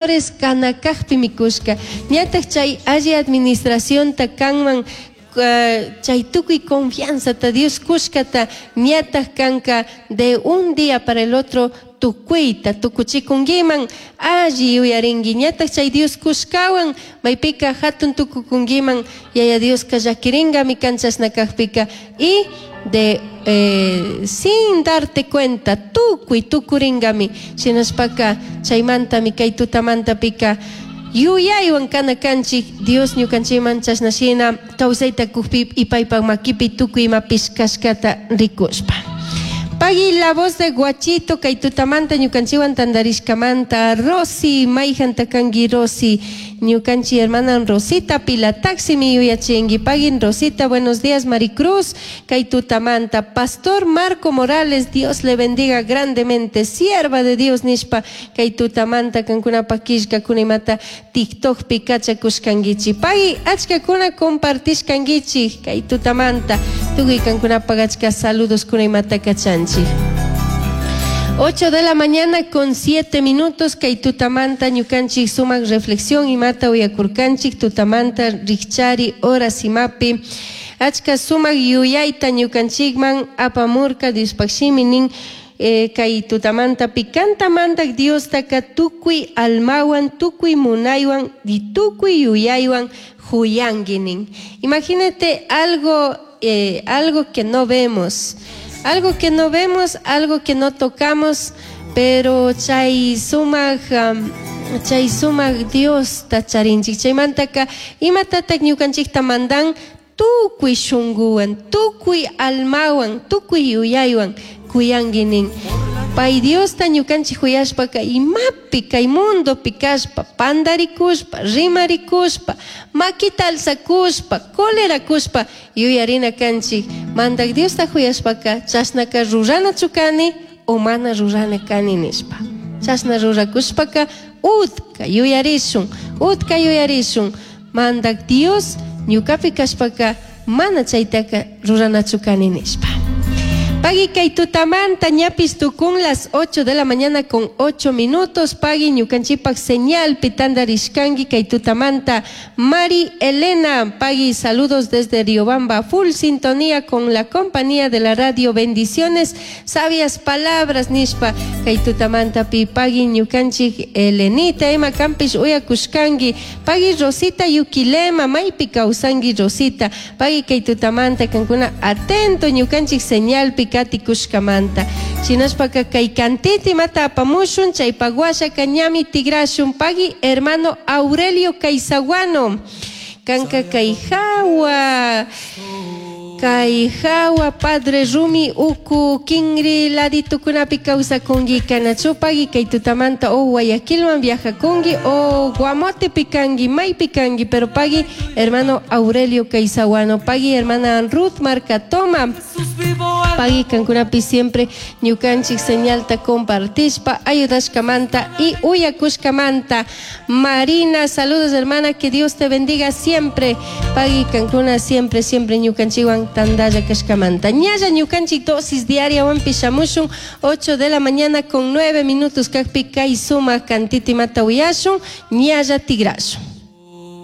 Kana kajpimi cushca. Ñataj chay alli administracionta kanman chay tukuy confianzata Dios cushcata ñataj kanka de un día para el otro tukuyta tukuchikunkiman alli yuyarinki ñataj chay Dios cushcawan maypika hatun tukukunkiman Yaya Dioska llakiringami kan chashna kajpika y de sin darte cuenta tukuy tukuringami shinashpaka chaymantami kay tutamantapika yuyaywan kana kanchik Dios ñukanchikman chashna shina kawsayta kukpi y paypak makipi tukuy imapish kashkata rikushpa. Pagui la voz de Guachito kay tutamanta ñukanchikwan tantarishkamanta Rosy mayjanta kanki Rosy ñukanchik hermana Rosita Pilataximi yuyachinki pagui Rosita buenos días Maricruz kay tutamanta Pastor Marco Morales Dios le bendiga grandemente sierva de Dios nishpa kay tutamanta kankunapak killkakuna imata TikTokpi kachakushkankichik pagui achkakuna compartishkankichik kay tutamanta tukuy kankunapak achka saludoskuna imata kachanchik 8 de la mañana con 7 minutos kay tutamanta ñukanchik sumak reflexión imata uyakurkanchik tutamanta rikchari horas imapi achka sumak yuyayta ñukanchikman apamurka Diospaq shimi nin kay tutamanta kanta mandak Diostaka tukuy almawan tukuy munaywan y tukuy yuyaywan juyanki nin. Imagínate algo que no vemos, algo que no vemos, algo que no tocamos, pero chay sumak chay sumak Diosta charinchik chaymantaka imatatak ñukanchikta mandan tukuy shunguwan tukuy almawan tukuy yuyaywan kuyanki nin. Pay Diosta ñukanchik huyashpaka imapi kay mundopi kashpa pandarikushpa rimarikushpa makita alzakushpa colerakushpa yuyarina kanchik mandak Diosta huyashpaka chashnaka ruranachu kani o mana rurana kani nishpa chashna rurakushpaka utka yuyarishun utka yuyarishun mandak Dios ñukapi kashpaka mana chaytaka ruranachu kani nishpa. Pagui kay tutamanta ñapis tukun las 8 de la mañana con 8 minutos. Pagui ñukanchikpak señalpi tantarishkanki kay tutamanta. Mari Elena, Pagui, saludos desde Riobamba, full sintonía con la compañía de la radio. Bendiciones, sabias palabras nishpa kay tutamanta pi Pagui ñukanchik Elenita ima kampish uyakushkanki. Pagui Rosita Yuquilema, maypi kawsanki Rosita. Pagui kay tutamanta kankuna atento ñukanchik señalpi katikushkamanta. Shinashpaka kay kantita imata apamushun chaypak washaka ñami tigrashun. Pagui hermano Aurelio Caizaguano. Kanka kay hawa kay hawa Padre Rumi uku kinri laditukunapi kawsakunki kanachu pagui kay tutamanta o Guayaquilman viajakunki o Guamotepi kanki maypi kanki pero pagui hermano Aurelio Caizaguano pagui hermana Ruth Marcatoma pagui kankunapi siempre ñukanchik señalta compartishpa ayudashkamanta y uyakushkamanta Marina saludos hermana que Dios te bendiga siempre pagui kankuna siempre siempre ñukanchikwan tandalla kashkamanta ñalla ñukanchik dosis diariawanpi shamushun 8 de la mañana con 9 minutos kajpi kay sumak kantita imata uyashun ñalla tigrashun.